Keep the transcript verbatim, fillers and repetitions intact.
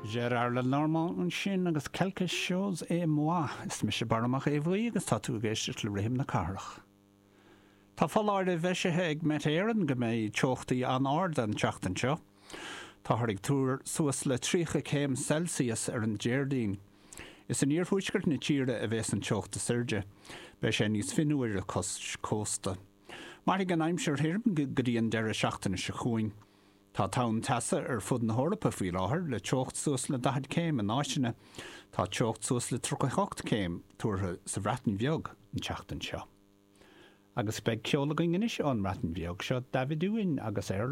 Gérard Lenormand ansin agus quelque chose et moi is mise Barra Mac Aodha Bhuí agus tá tú ag éisteacht le rithim na cathrach. Tá foláireamh eisithe ag Met Éireann go mbeidh teochtaí an-ard an tseachtain seo. Táthar ag tuar suas le tríocha céim Celsius ar an Déardaoin. Is in iarthuaisceart na tíre a bheas an teocht is airde, Beidh sé níos fionnuaire cois cósta. Mairfidh an aimsir thirim go dtí an deireadh seachtaine seo chugainn. Tá tonn teasa ar fud na hEorpa faoi láthair le teocht suas le daichead céim in áiteanna, Tá teocht suas le tríocha hocht céim tuartha sa Bhreatain Bheag an tseachtain seo. Agus beidh ceol againn anois ón mBreatain Bheag seo David Owen agus Airline.